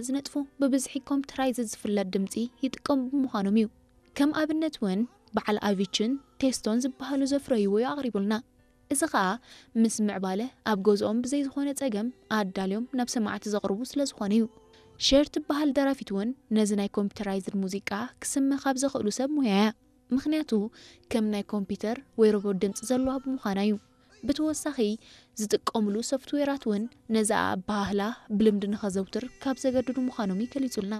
ዝነጥፉ ብብዝሒ ኮምፒውተራይዝድ ዝፍለጥ ድምፂ ይጥቀሙ ብምዃኖም እዩ። ከም ኣብነት እውን በዓል ኣቪችን ቴስቶን ዝበሃሉ ዘፍረይዎ እዩ ኣቕሪቡልና። እዚ ኸኣ ምስ ምዕባለ ኣብ ገዝኦም ብዘይ ዝኾነ ጸገም ኣዳልዮም ናብ ሰማዕቲ ዘቕርቡ ስለ ዝኾነ እዩ። ሸር ትበሃል ደራፊት እውን ነዚ ናይ ኮምፒውተራይዝድ ሙዚቃ ክስመ ካብ ዘኽእሉ ሰብ ሙያ እያ። ምኽንያቱ ከም ናይ ኮምፒውተር ወይ ሮቦት ድምፂ ዘለዋ ብምዃና እዩ። ብተወሳኺ ዝጥቀምሉ ሶፍትዌራት እውን ነዚ ኣበሃህላ ብልምዲ ንኸዘውትር ካብ ዘገድዱ ምዃኖም እዩ ገሊጹልና።